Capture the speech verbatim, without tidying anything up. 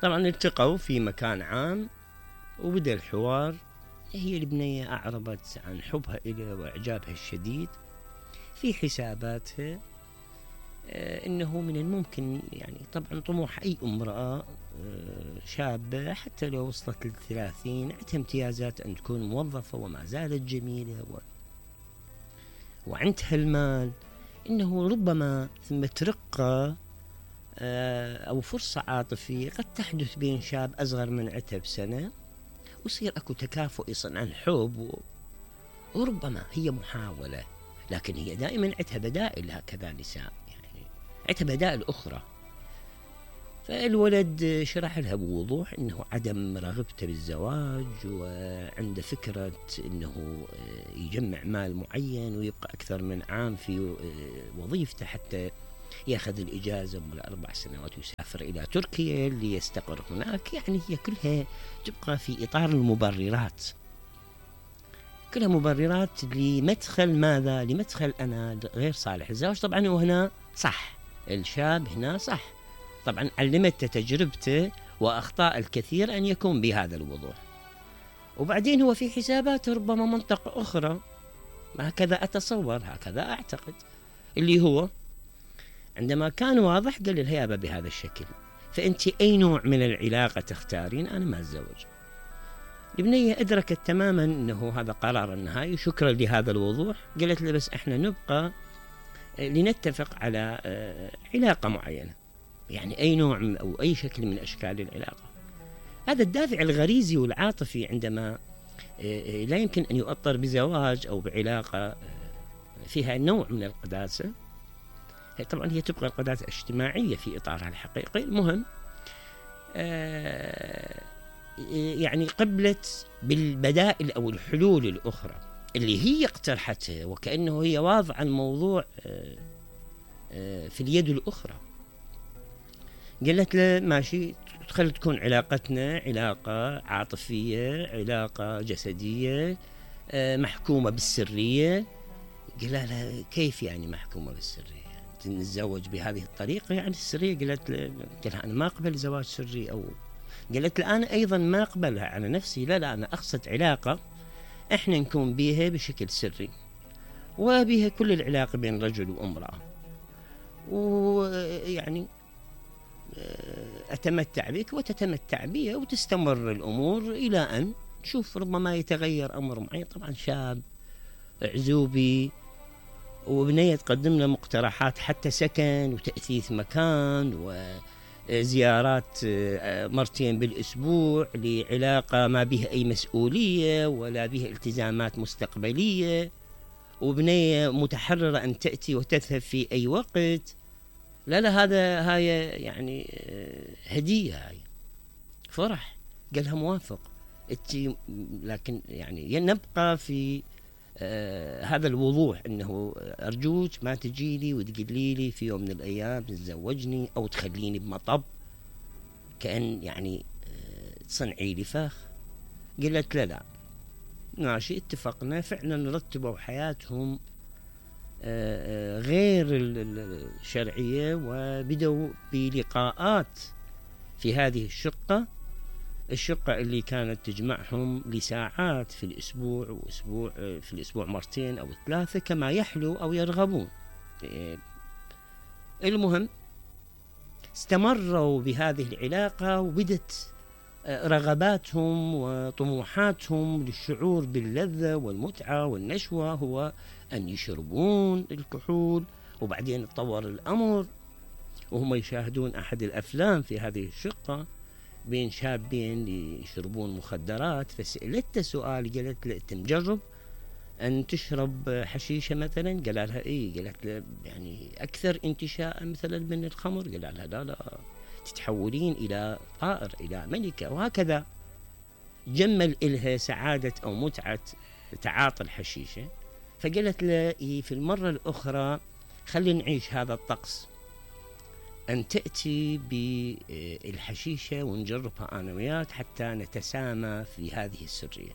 طبعا التقوا في مكان عام وبدأ الحوار. هي البنية أعربت عن حبها إليه وإعجابها الشديد في حساباتها. آه إنه من الممكن يعني طبعا طموح أي امرأة آه شابة حتى لو وصلت للثلاثين عندها امتيازات أن تكون موظفة وما زالت جميلة و... وعندها المال، إنه ربما ثم ترقى أو فرصة عاطفية قد تحدث بين شاب أصغر من عتها بسنة ويصير أكو تكافؤ عن الحب و... وربما هي محاولة، لكن هي دائما عتها بدائل. هكذا نساء يعني عتها بدائل أخرى. فالولد شرح لها بوضوح أنه عدم رغبته بالزواج وعنده فكرة أنه يجمع مال معين ويبقى أكثر من عام في وظيفته حتى ياخذ الإجازة من أربع سنوات ويسافر إلى تركيا ليستقر هناك. يعني هي كلها تبقى في إطار المبررات، كلها مبررات لمدخل ماذا؟ لمدخل أنا غير صالح الزواج. طبعا وهنا صح الشاب هنا صح، طبعا علمته تجربته وأخطاء الكثير أن يكون بهذا الوضوح. وبعدين هو في حساباته ربما منطقة أخرى، هكذا أتصور، هكذا أعتقد، اللي هو عندما كان واضح قال الهيابة بهذا الشكل، فأنت أي نوع من العلاقة تختارين؟ أنا ما أتزوج. البنية أدركت تماما أنه هذا قرار النهائي. شكرا لهذا الوضوح. قالت له بس إحنا نبقى لنتفق على علاقة معينة، يعني أي نوع أو أي شكل من أشكال العلاقة. هذا الدافع الغريزي والعاطفي عندما لا يمكن أن يؤطر بزواج أو بعلاقة فيها نوع من القداسة. طبعا هي تبقى القداسة الاجتماعية في إطارها الحقيقي. المهم آه يعني قبلت بالبدائل أو الحلول الأخرى اللي هي اقترحتها، وكأنه هي واضعة الموضوع آه آه في اليد الأخرى. قالت له ماشي، خلي تكون علاقتنا علاقة عاطفية، علاقة جسدية آه محكومة بالسرية. قال لها كيف يعني محكومة بالسرية؟ نتزوج بهذه الطريقة يعني السرية؟ قالت لها أنا ما أقبل زواج سري. أو قالت لها أنا أيضا ما أقبلها على نفسي. لا لا، أنا أقصد علاقة إحنا نكون بيها بشكل سري وبها كل العلاقة بين رجل وامرأة، ويعني أتمتع بك وتتمتع بي وتستمر الأمور إلى أن نشوف ربما يتغير أمر معين. طبعا شاب عزوبي وبنية تقدم له مقترحات حتى سكن وتأثيث مكان وزيارات مرتين بالأسبوع لعلاقة ما بها أي مسؤولية ولا بها التزامات مستقبلية، وبنية متحررة أن تأتي وتذهب في أي وقت. لا لا، هذا هاي يعني هدية، هاي فرح. قالها موافق، لكن يعني نبقى في آه هذا الوضوح انه ارجوك ما تجيلي وتقولي لي في يوم من الايام تتزوجني او تخليني بمطب كأن يعني آه تصنعي لي فخ. قلت لا لا ماشي، اتفقنا. فعلا رتبوا حياتهم آه غير الشرعية وبدأوا بلقاءات في هذه الشقة الشقة اللي كانت تجمعهم لساعات في الأسبوع، وأسبوع في الأسبوع مرتين أو ثلاثة كما يحلو أو يرغبون. المهم استمروا بهذه العلاقة وبدت رغباتهم وطموحاتهم للشعور باللذة والمتعة والنشوة هو أن يشربون الكحول. وبعدين تطور الأمر وهم يشاهدون أحد الأفلام في هذه الشقة بين شابين يشربون مخدرات. فسألته سؤال، قالت له أنت مجرب أن تشرب حشيشة مثلا؟ قال لها إيه. قالت له يعني أكثر انتشاء مثلا من الخمر؟ قال لها لا لا، تتحولين إلى طائر، إلى ملكة. وهكذا جمل إلها سعادة أو متعة تعاطي الحشيشة. فقالت له إيه في المرة الأخرى خلي نعيش هذا الطقس، أن تأتي بالحشيشة ونجربها أنا وياك حتى نتسامى في هذه السرية.